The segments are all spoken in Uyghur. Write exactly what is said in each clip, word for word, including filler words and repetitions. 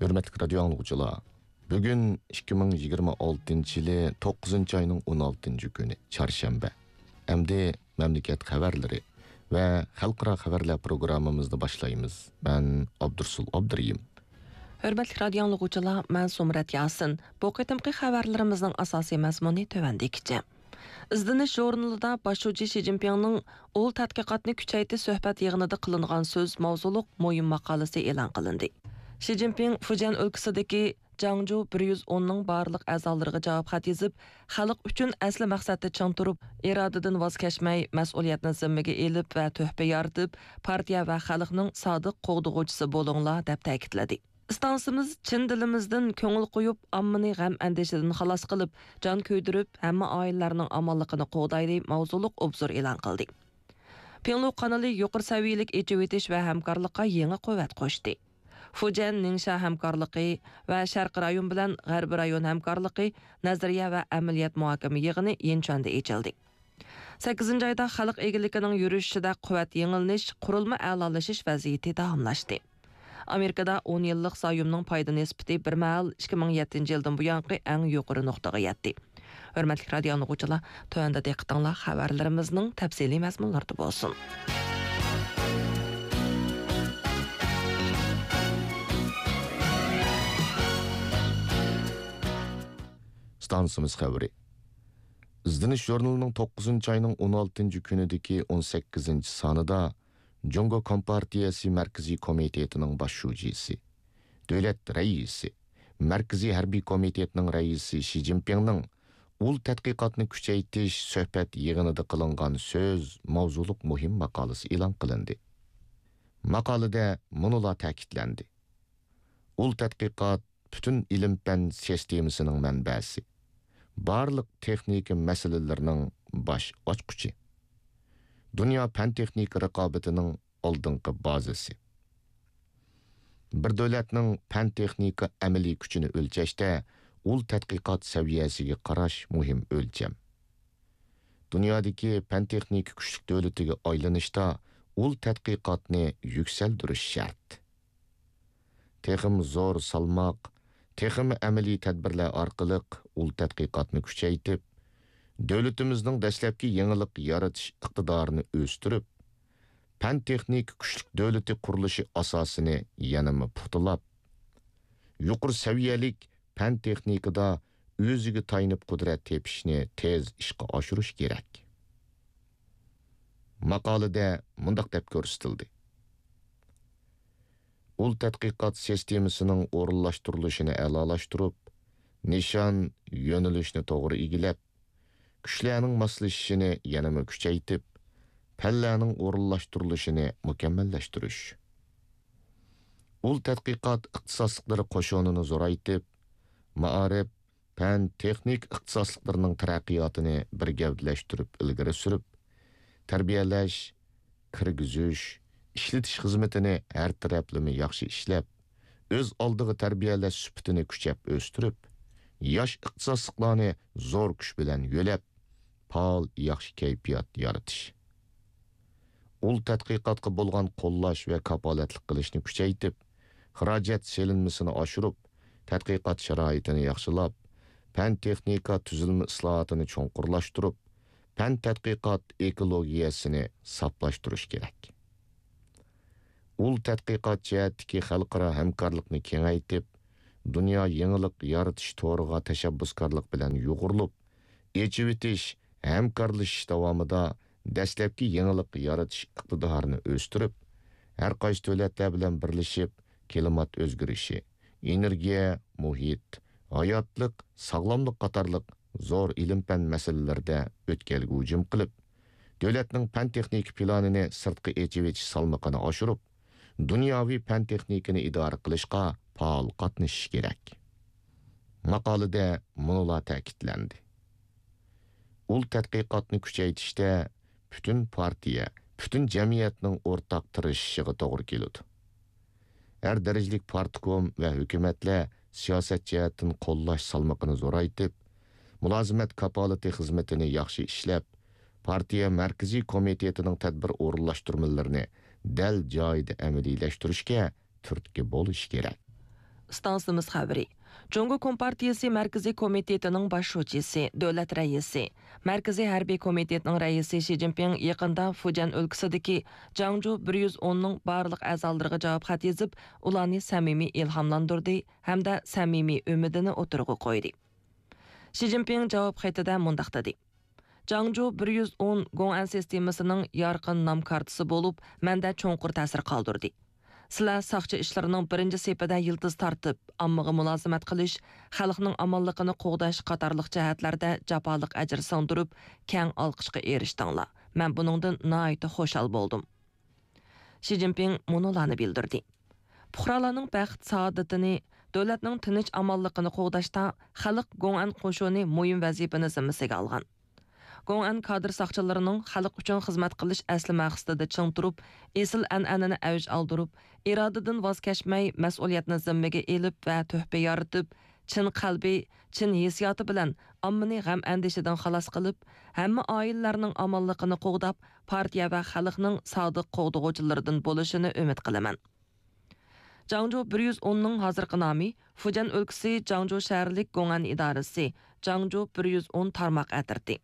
ھۆرمەتلىك رادىيو ئاڭلىغۇچىلار، بۈگۈن ئىككى مىڭ يىگىرمە ئالتىنچى يىلى توققۇزىنچى ئاينىڭ ئون ئالتىنچى كۈنى، چارشەنبە. ئەمدى مەملىكەت خەۋەرلىرى ۋە خەلقئارا خەۋەرلەر پروگراممىمىزنى باشلايمىز. مەن ئابدۇرسۇل ئابدۇرېھىم. ھۆرمەتلىك رادىيو ئاڭلىغۇچىلار، مەن سۇمرەت ياسىن. بۇ قېتىمقى خەۋەرلىرىمىزنىڭ ئاساسىي مەزمۇنى تۆۋەندىكىچە. ئىزدىنىش ژۇرنىلىدا باش شۇجى شى جىنپىڭنىڭ ئۇل تەتقىقاتنى كۈچەيتىش سۆھبەت يىغىنىدا قىلىنغان سۆز ماۋزۇلۇق مۇھىم ماقالىسى ئېلان قىلىندى. شى جىنپىڭ فۇجيەن ئۆلكىسىدىكى جاڭجۇ بىر يۈز ئوننىڭ بارلىق ئەزالىرىغا جاۋاب خەت يېزىپ، خەلق ئۈچۈن ئەسلى مەقسەتتە چىڭ تۇرۇپ، ئىرادىدىن ۋاز كەچمەي، مەسئۇلىيەتنى زىممىگە ئېلىپ ۋە تۆھپە يارىتىپ، پارتىيە ۋە خەلقنىڭ سادىق قوغدىغۇچىسى بولۇڭلار، دەپ تەكىتلىدى. ئىستانسىمىز چىن دىلىمىزدىن كۆڭۈل قويۇپ، ئاممىنى غەم-ئەندىشىدىن خالاس قىلىپ، جان كۆيدۈرۈپ، ھەممە ئائىلىلەرنىڭ ئامانلىقىنى قوغدايلى ماۋزۇلۇق ئوبزور ئېلان قىلدى. پىڭلۇ قانىلى يۇقىرى سەۋىيەلىك ئېچىۋېتىش ۋە ھەمكارلىققا يېڭى قۇۋۋەت قوشتى. فۇجيەن نىڭشيا ھەمكارلىقى ۋە شەرقىي رايون بىلەن غەربىي رايون ھەمكارلىقى نەزەرىيە ۋە ئەمەلىيەت مۇھاكىمە يىغىنى يىنچۈەندە ئېچىلدى. سەككىزىنچى ئايدا خەلق ئىگىلىكىنىڭ يۈرۈشۈشىدە قۇۋۋەت يېڭىلىنىش، قۇرۇلما ئەلالىشىش ۋەزىيىتى داۋاملاشتى. ئامېرىكىدا ئون يىللىق زايومنىڭ پايدا نىسبىتى بىر مەھەل ئىككى مىڭ يەتتىنچى يىلدىن بۇيانقى ئەڭ يۇقىرى نۇقتىغا يەتتى. ھۆرمەتلىك رادىيو ئاڭلىغۇچىلار، تۆۋەندە دىققىتىڭلار خەۋەرلىرىمىزنىڭ تەپسىلىي مەزمۇنلىرىدا بولسۇن. ئىستانسىمىز خەۋىرى. ئىزدىنىش ژۇرنىلىنىڭ توققۇزىنچى ئاينىڭ ئون ئالتىنچى كۈنىدىكى ئون سەككىزىنچى سانىدا جۇڭگو كومپارتىيەسى مەركىزىي كومىتېتىنىڭ باش شۇجىسى، دۆلەت رەئىسى، مەركىزىي ھەربىي كومىتېتنىڭ رەئىسى شى جىنپىڭنىڭ ئۇل تەتقىقاتنى كۈچەيتىش سۆھبەت يىغىنىدا قىلىنغان سۆز ماۋزۇلۇق مۇھىم ماقالىسى ئېلان قىلىندى. ماقالىدە مۇنۇلار تەكىتلەندى: ئۇل تەتقىقات پۈتۈن ئىلىم-پەن سىستېمىسىنىڭ مەنبەسى، بارلىق تېخنىكا مەسىلىلىرىنىڭ باش ئاچقۇچى، دۇنيا پەن-تېخنىكا رىقابىتىنىڭ ئالدىنقى بازىسى. بىر دۆلەتنىڭ پەن-تېخنىكا ئەمەلىي كۈچىنى ئۆلچەشتە ئۇل تەتقىقات سەۋىيەسىگە قاراش مۇھىم ئۆلچەم. دۇنيادىكى پەن-تېخنىكا كۈچلۈك دۆلىتىگە ئايلىنىشتا ئۇل تەتقىقاتنى يۈكسەلدۈرۈش شەرت. تېخىمۇ زور سالماق، تېخىمۇ ئەمەلىي تەدبىرلەر ئارقىلىق ئۇل تەتقىقاتنى كۈچەيتىپ، دۆلىتىمىزنىڭ دەسلەپكى يېڭىلىق يارىتىش ئىقتىدارىنى ئۆستۈرۈپ، پەن-تېخنىكا كۈچلۈك دۆلىتى قۇرۇلۇشى ئاساسىنى يەنىمۇ پۇختىلاپ، يۇقىرى سەۋىيەلىك پەن-تېخنىكىدا ئۆزىگە تايىنىپ قۇدرەت تېپىشنى تېز ئىشقا ئاشۇرۇش كېرەك. ماقالىدە مۇنداق دەپ كۆرسىتىلدى: ئۇل تەتقىقات سىستېمىسىنىڭ ئورۇنلاشتۇرۇلۇشىنى ئەلالاشتۇرۇپ، نىشان، يۆنىلىشنى توغرا ئىگىلەپ، كۈچلەرنىڭ ماسلىشىشىنى يەنىمۇ كۈچەيتىپ، پەنلەرنىڭ ئورۇنلاشتۇرۇلۇشىنى مۇكەممەللەشتۈرۈش. ئۇل تەتقىقات ئىختىساسلىقلىرى قوشۇنىنى زورايتىپ، مائارىپ، پەن، تېخنىكا ئىختىساسلىقلىرىنىڭ تەرەققىياتىنى بىر گەۋدىلەشتۈرۈپ ئىلگىرى سۈرۈپ، تەربىيەلەش، كىرگۈزۈش، ئىشلىتىش خىزمىتىنى ھەر تەرەپلىمە ياخشى ئىشلەپ، ئۆز ئالدىغا تەربىيەلەش سۈپىتىنى كۈچەپ ئۆستۈرۈپ، ياش ئىختىساسلىقلارنى زور كۈچ بىلەن يۆلەپ، پائال، ياخشى كەيپىيات يارىتىش. ئۇل تەتقىقاتقا بولغان قوللاش ۋە كاپالەتلىك قىلىشنى كۈچەيتىپ، خىراجەت سېلىنمىسىنى ئاشۇرۇپ، تەتقىقات شارائىتىنى ياخشىلاپ، پەن-تېخنىكا تۈزۈلمە ئىسلاھاتىنى چوڭقۇرلاشتۇرۇپ، پەن-تەتقىقات ئېكولوگىيەسىنى ساپلاشتۇرۇش كېرەك. ئۇل تەتقىقات جەھەتتىكى خەلقئارا ھەمكارلىقنى كېڭەيتىپ، دۇنيا يېڭىلىق يارىتىش تورىغا تەشەببۇسكارلىق بىلەن يۇغۇرۇلۇپ، ئېچىۋېتىش، ھەمكارلىشىش داۋامىدا دەسلەپكى يېڭىلىق يارىتىش ئىقتىدارىنى ئۆستۈرۈپ، ھەر قايسى دۆلەتلەر بىلەن بىرلىشىپ، كىلىمات ئۆزگىرىشى، ئېنېرگىيە، مۇھىت، ھاياتلىق، ساغلاملىق قاتارلىق زور ئىلىم-پەن مەسىلىلىرىدە ئۆتكەلگە ھۇجۇم قىلىپ، دۆلەتنىڭ پەن-تېخنىكا پىلانىنى سىرتقا ئېچىۋېتىش سالمىقىنى ئاشۇرۇپ، دۇنياۋى پەن-تېخنىكىنى ئىدارە قىلىشقا پائال قاتنىشىش كېرەك. ماقالىدە مۇنۇلار تەكىتلەندى: ئۇل تەتقىقاتنى كۈچەيتىشتە پۈتۈن پارتىيە، پۈتۈن جەمئىيەتنىڭ ئورتاق تىرىشىشىغا توغرا كېلىدۇ. ھەر دەرىجىلىك پارتكوم ۋە ھۆكۈمەتلەر سىياسەت جەھەتتىن قوللاش سالمىقىنى زورايتىپ، مۇلازىمەت كاپالىتى خىزمىتىنى ياخشى ئىشلەپ، پارتىيە مەركىزىي كومىتېتىنىڭ تەدبىر ئورۇنلاشتۇرمىلىرىنى دەل جايىدا ئەمەلىيلەشتۈرۈشكە تۈرتكە بولۇش كېرەك. ئىستانسىمىز خەۋىرى. جۇڭگو كومپارتىيىسى مەركىزىي كومىتېتىنىڭ باش شۇجىسى، دۆلەت رەئىسى، مەركىزىي ھەربىي كومىتېتنىڭ رەئىسى شى جىنپىڭ يېقىندا فۇجيەن ئۆلكىسىدىكى جاڭجۇ بىر يۈز ئوننىڭ بارلىق ئەزالىرىغا جاۋاب خەت يېزىپ، ئۇلارنى سەمىمىي ئىلھاملاندۇردى ھەمدە سەمىمىي ئۈمىدىنى ئوتتۇرىغا قويدى. شى جىنپىڭ جاۋاب خېتىدە مۇنداق دېدى: جاڭجۇ بىر يۈز ئون گوڭئەن سىستېمىسىنىڭ يارقىن نام كارتىسى بولۇپ، مەندە چوڭقۇر تەسىر قالدۇردى. سىلەر ساقچى ئىشلىرىنىڭ بىرىنچى سېپىدە يىلتىز تارتىپ، ئاممىغا مۇلازىمەت قىلىش، خەلقنىڭ ئامانلىقىنى قوغداش قاتارلىق جەھەتلەردە جاپالىق ئەجىر سىڭدۈرۈپ، كەڭ ئالقىشقا ئېرىشتىڭلار. مەن بۇنىڭدىن ناھايىتى خۇشال بولدۇم. شى جىنپىڭ مۇنۇلارنى بىلدۈردى: پۇقرالارنىڭ بەخت-سائادىتىنى، دۆلەتنىڭ تىنچ-ئامانلىقىنى قوغداشتا خەلق گوڭئەن قوشۇنى مۇھىم ۋەزىپىنى زىممىسىگە ئالغان. گوڭئەن كادىر ساقچىلىرىنىڭ خەلق ئۈچۈن خىزمەت قىلىش ئەسلى مەقسىتىدە چىڭ تۇرۇپ، ئېسىل ئەنئەنىنى ئەۋج ئالدۇرۇپ، ئىرادىدىن ۋاز كەچمەي، مەسئۇلىيەتنى زىممىگە ئېلىپ ۋە تۆھپە يارىتىپ، چىن قەلبى، چىن ھېسسىياتى بىلەن ئاممىنى غەم-ئەندىشىدىن خالاس قىلىپ، ھەممە ئائىلىلەرنىڭ ئامانلىقىنى قوغداپ، پارتىيە ۋە خەلقنىڭ سادىق قوغدىغۇچىلىرىدىن بولۇشىنى ئۈمىد قىلىمەن. جاڭجۇ بىر يۈز ئوننىڭ ھازىرقى نامى فۇجيەن ئۆلكىسى جاڭجۇ شەھەرلىك گوڭئەن ئىدارىسى، جاڭجۇ بىر يۈز ئون تارماق ئەترىتى.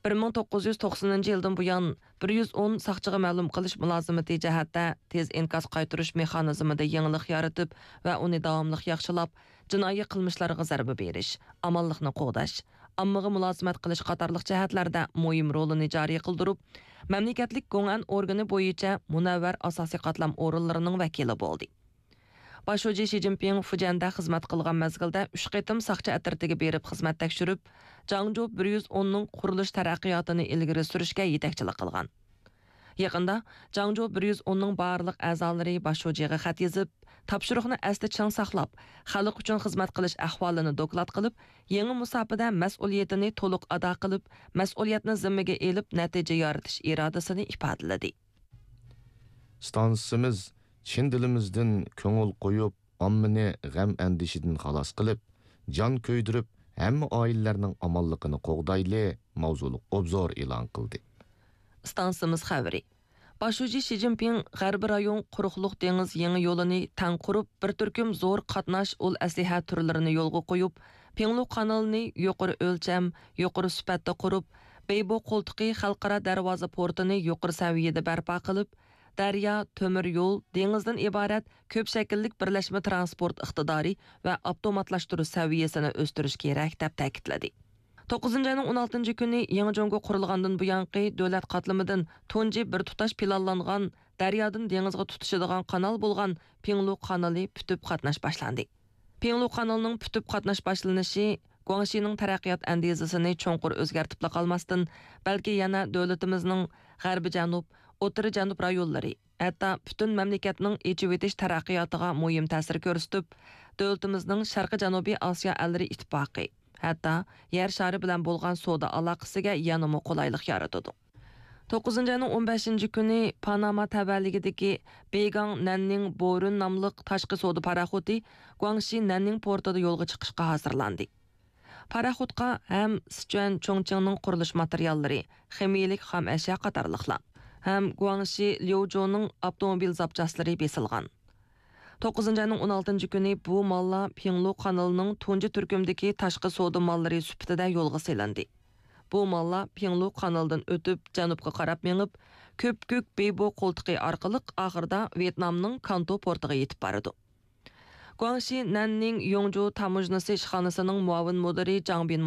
بىر مىڭ توققۇز يۈز توقسىنىنچى يىلدىن بۇيان، بىر يۈز ئون ساقچىغا مەلۇم قىلىش مۇلازىمىتى جەھەتتە تېز ئىنكاس قايتۇرۇش مېخانىزمىدا يېڭىلىق يارىتىپ ۋە ئۇنى داۋاملىق ياخشىلاپ، جىنايى قىلمىشلارغا زەربە بېرىش، ئامانلىقنى قوغداش، ئاممىغا مۇلازىمەت قىلىش قاتارلىق جەھەتلەردە مۇھىم رولىنى جارى قىلدۇرۇپ، مەملىكەتلىك گوڭئەن ئورگىنى بويىچە مۇنەۋۋەر ئاساسىي قاتلام ئورۇنلىرىنىڭ ۋەكىلى بولدى. باش شۇجى شى جىنپىڭ فۇجيەندە خىزمەت قىلغان مەزگىلدە ئۈچ قېتىم ساقچى ئەترىتىگە بېرىپ خىزمەت تەكشۈرۈپ، جاڭجۇ بىر يۈز ئوننىڭ قۇرۇلۇش تەرەققىياتىنى ئىلگىرى سۈرۈشكە يېتەكچىلىك قىلغان. يېقىندا جاڭجۇ بىر يۈز ئوننىڭ بارلىق ئەزالىرى باش شۇجىغا خەت يېزىپ، تاپشۇرۇقنى ئەستە چىڭ ساقلاپ، خەلق ئۈچۈن خىزمەت قىلىش ئەھۋالىنى دوكلات قىلىپ، يېڭى مۇساپىدە مەسئۇلىيىتىنى تولۇق ئادا قىلىپ، مەسئۇلىيەتنى زىممىگە ئېلىپ، نەتىجە يارىتىش ئىرادىسىنى ئىپادىلىدى. ئىستانسىمىز چىن دىلىمىزدىن كۆڭۈل قويۇپ، ئاممىنى غەم-ئەندىشىدىن خالاس قىلىپ، جان كۆيدۈرۈپ، ھەممە ئائىلىلەرنىڭ ئامانلىقىنى قوغدايلى ماۋزۇلۇق ئوبزور ئېلان قىلدى. ئىستانسىمىز خەۋىرى. باش شۇجى شى جىنپىڭ غەربىي رايون قۇرۇقلۇق دېڭىز يېڭى يولىنى تەڭ قۇرۇپ، بىر تۈركۈم زور قاتناش ئۇل ئەسلىھە تۈرلىرىنى يولغا قويۇپ، پىڭلۇ قانىلىنى يۇقىرى ئۆلچەم، يۇقىرى سۈپەتتە قۇرۇپ، بېيبو قولتۇقى خەلقئارا دەرۋازا پورتىنى يۇقىرى سەۋىيەدە بەرپا قىلىپ، دەريا، تۆمۈر يول، دېڭىزدىن ئىبارەت كۆپ شەكىللىك بىرلەشمە تىرانسپورت ئىقتىدارى ۋە ئاپتوماتلاشتۇرۇش سەۋىيەسىنى ئۆستۈرۈش كېرەك، دەپ تەكىتلىدى. توققۇزىنچى ئاينىڭ ئون ئالتىنچى كۈنى يېڭى جۇڭگو قۇرۇلغاندىن بۇيانقى دۆلەت قاتلىمىدىن تۇنجى بىر تۇتاش پىلانلانغان دەريادىن دېڭىزغا تۇتىشىدىغان قانال بولغان پىڭلۇ قانىلى پۈتۈپ قاتناش باشلاندى. پىڭلۇ قانىلىنىڭ پۈتۈپ قاتناش باشلىنىشى گۇاڭشىنىڭ تەرەققىيات ئەندىزىسىنى چوڭقۇر ئۆزگەرتىپلا قالماستىن، بەلكى يەنە دۆلىتىمىزنىڭ غەربىي جەنۇب، ئوتتۇرا جەنۇب رايونلىرى، ھەتتا پۈتۈن مەملىكەتنىڭ ئېچىۋېتىش تەرەققىياتىغا مۇھىم تەسىر كۆرسىتىپ، دۆلىتىمىزنىڭ شەرقىي جەنۇبىي ئاسىيا ئەللىرى ئىتتىپاقى، ھەتتا يەر شارى بىلەن بولغان سودا ئالاقىسىگە يەنىمۇ قولايلىق يارىتىدۇ. توققۇزىنچى ئاينىڭ ئون بەشىنچى كۈنى پاناما تەۋەلىكىدىكى بېيگاڭ نەننىڭ بورۇن ناملىق تاشقى سودا پاراخوتى گۇاڭشى نەننىڭ پورتىدا يولغا چىقىشقا ھازىرلاندى. پاراخوتقا ھەم سىچۈەن چۇڭچىڭنىڭ قۇرۇلۇش ماتېرىياللىرى، خىمىيىلىك خام ئەشيا قاتارلىقلار ھەم گۇاڭشى ليۇجۇنىڭ ئاپتوموبىل زاپچاسلىرى بېسىلغان. توققۇزىنچى ئاينىڭ ئون ئالتىنچى كۈنى بۇ ماللار پىڭلۇ قانىلىنىڭ تۇنجى تۈركۈمدىكى تاشقى سودا ماللىرى سۈپىتىدە يولغا سېلىندى. بۇ ماللار پىڭلۇ قانىلىدىن ئۆتۈپ، جەنۇبقا قاراپ مېڭىپ، كۆپكۆك بېيبو قولتۇقى ئارقىلىق ئاخىرىدا ۋيېتنامنىڭ كانتو پورتىغا يېتىپ بارىدۇ. گۇاڭشى نەننىڭ يوڭجۇ تاموژنىسى ئىشخانىسىنىڭ مۇئاۋىن مۇدىرى جاڭ بىن